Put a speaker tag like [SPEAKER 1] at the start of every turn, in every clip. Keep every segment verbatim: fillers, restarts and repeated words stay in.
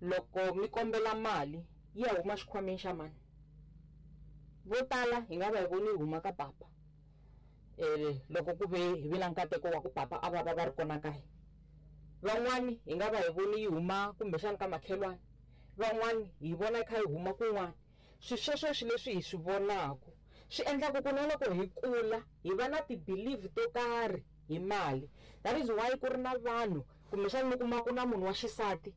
[SPEAKER 1] Loko mi kombela mali yi ya huma xikhwameni xa mani? Vo tala hi nga va hi voni yi huma ka papa, um loko ku ve hi vi na nkateko wa ku papa a va va va ri kona kaya. Van'wani hi nga va hi voni yi huma kumbexani ka makhelwani, van'wani hi vona yi kha yi huma kun'wana. Swi sweswo swi leswi hi swi vonaku swi endlaku ku na loko hi kula hi va na ti-belief to karhi hi mali. That is why ku ri na vanhu kumbexani mi kuma ku na munhu wa xisati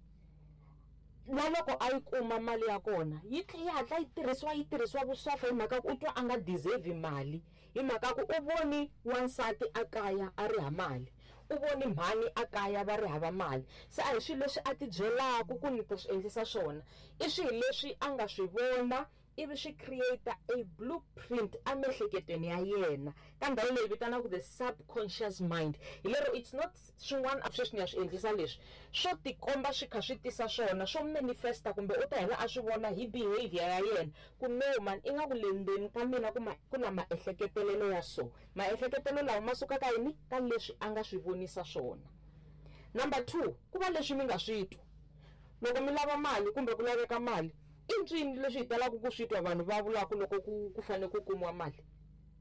[SPEAKER 1] na loko a yi kuma mali ya kona yi tlhe yi hatla yi tirhisiwa yi tirhisiwa vusopfa, hi mhaka ku u twa a nga deserve mali, hi mhaka ku u voni wansati a kaya a ri ha mali, u voni mhani a kaya va ri hava mali. Se a hi swilo leswi a ti byelaka ku ni ta swi endlisa swona, i swilo leswi a nga swi vona ivi swi create a blueprint emiehleketweni ya yena ka ndhawu leyi vitanaka the subconscious mind. Hi lero it's not swin'wana sweswi ni ya swi endlisa leswi swo tikomba swi kha swi tisa swona swo manifesta, kumbe u ta hela a swi vona hi behavior ya yena ku no man, ingaku le ndzeni ka mina ku ma ku na maehleketelelo ya so. Maehleketelo lawa ma suka ka yini? Ka leswi a nga swi vonisa swona. Number two, ku va leswi mi nga swi twa. Loko mi lava mali kumbe ku laveka mali, i ncini leswi hi talaka ku swi twa vanhu va vulaka loko ku ku fanele ku kumiwa mali?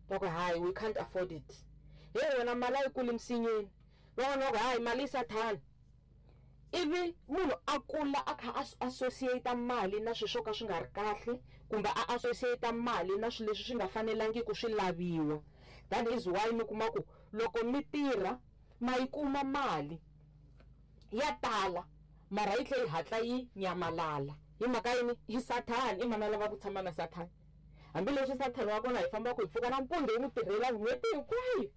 [SPEAKER 1] Va ku hayi, we can't afford it. Hey wena, mali a yi kuli misinyeni. Van'wana va ku hayi, mali i sathana. Ivi munhu a kula a kha a associate mali na swilo swo ka swi nga ri kahle, kumbe a associate mali na swilo leswi swi nga fanelangiki swi laviwa. That is why mi kuma ku loko mi tirha ma yi kuma mali ya tala, mara yi tlhela yi hatla yi nyamalala. Hi mhaka yini? I sathana. I mani a lava ku tshama na sathana? Hambileswi sathana wa kona hi fambaka hi pfuka nampundzu hi n'wi tirhela n'hweti hinkwayo.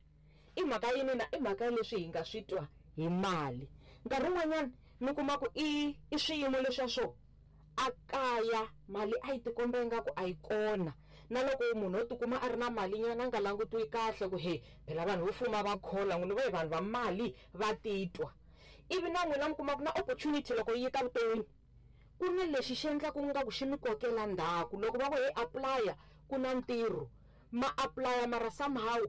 [SPEAKER 1] I mhaka yini na? I mhaka leswi hi nga swi twa hi mali. Nkarhi wun'wanyana mi kuma ku i i swiyimo leswiya swo a kaya mali a yi tikomba ingaku a yi kona, na loko munhu o tikuma a ri na mali nyana a nga langutiwi kahle ku he phela vanhu vo fuma va khola n'wina va hi vanhu va mali va titwa. Ivi na n'wina mi kuma ku na opportunity loko yi ta vuton'wini ku na lexi xi endlaku nga ku xi mi kokela ndzhaku. Loko va ku hey, apply ku na ntirho, ma apply mara somehow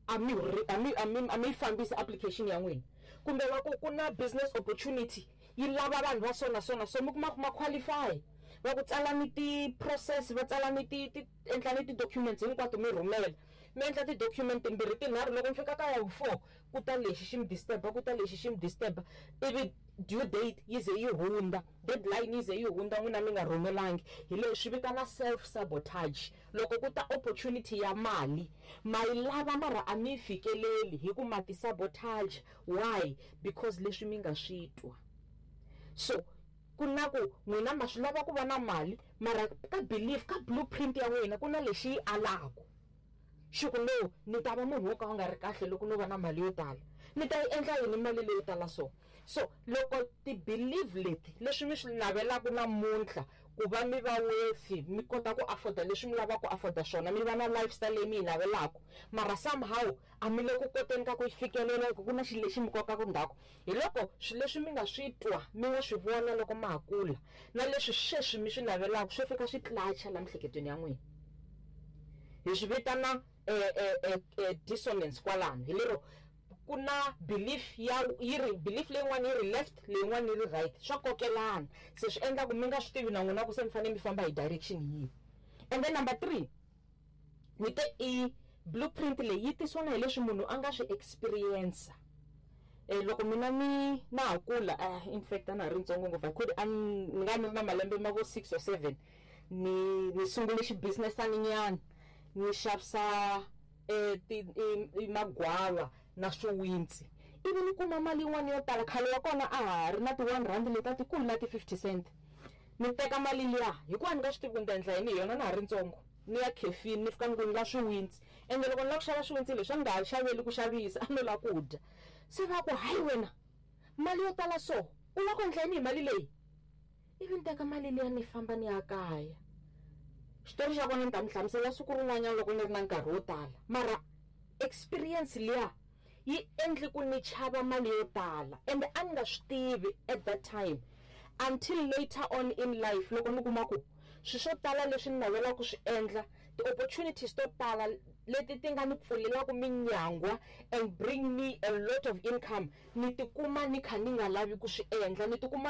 [SPEAKER 1] a mi a mi a mi a mi yi fambisi application ya n'wina. Kumbe va ku ku na business opportunity yi lava vanhu va so na so na so, mi kuma ku ma qualify, va ku tsalani ti-process, va tsalani ti ti endlani ti-documents hinkwato mi rhumela, mi endla ti-document timbirhi tinharhu, loko mi fika ka ya four ku ta lexi xi mi disturb, ku ta lexi xi mi disturb, ivi due date yi ze yi hundza, deadline yi ze yi hundza, n'wina mi nga rhumelangi. Hi leswi swi vitana self sabotage. Loko ku ta opportunity ya mali ma yi lava mara a mi yi fikeleli hi ku ma ti sabotage. Why? Because leswi mi nga swi twa. So ku na ku n'wina ma swi lava ku va na mali, mara ka belief, ka blueprint ya n'wina ku na lexi yi alaku xi ku no, ni ta va munhu wo ka u nga ri kahle loko no va na mali yo tala, ni ta yi endla yini mali leyo tala? So so loko ti-belief leti leswi mi swi navelaka namuntlha ku va mi va wealthy, mi kota ku afforda leswi mi lavaka ku afforda swona, mi va na lifestyle leyi mi yi navelaka, mara somehow a mi le ku koteni ka ku yi fikelela hi ku ku na xilo lexi mi kokaka ndzhaku. Hi loko swilo leswi mi nga swi twa, mi nga swi vona loko ma ha kula, na leswi sweswi mi swi navelaka swi fika swi clash la miehleketweni ya n'wina. Hi swi vitana eh, eh, eh, dissonance kwalano. Hi lero ku na belief ya yi ri belief leyin'wana yi ri left, leyin'wana yi ri right, swa kokelana, se swi endla ku mi nga swi tivi na n'wina ku se mi fanele mi famba hi direction yihi. And then number three, ni te i blueprint leyi yi tisiwa na hi leswi munhu a nga swi experience. Eh loko mina ni na ha kula, uh, in fact a na ha ri ntsongo ngopfu, I could a ni nga ni ri na malembe ma vo six or seven, ni ni sungule xibusinessani nyana, ni xavisa eh ti i magwava na swiwintsi, ivi ni kuma mali yin'wana yo tala. Khale wa kona a ha ri na ti one rand leti a tikulu na ti fifty cent. Ni teka mali liya hikuva ni nga swi tivi ku ni ta endla yini hi yona, na ha ri ntsongo, ni ya khefini, ni fika ni ku ni lava swiwintsi. Ende loko ni lava ku xava swiwintsi leswi a ni nga ha xaveli ku xavisa, a no lava ku dya. Se va ku hayi wena, mali yo tala so u lava ku endla yini hi mali leyi? Ivi ni teka mali liya ni famba ni ya kaya. Xitori xa kona ni ta mi hlamusela siku rin'wanyana loko ni ri na nkarhi wo tala, mara experience liya yi endli ku ni chava mali yo tala, ende a ni nga swi tivi at that time until later on in life loko ni kuma ku swilo swo tala leswi ni navelaka ku swi endla, ti-opportunities to tala leti ti nga ni pfulelaka minyangwa and bring me a lot of income, ni tikuma ni kha ni nga lavi ku swi endla, ni tikuma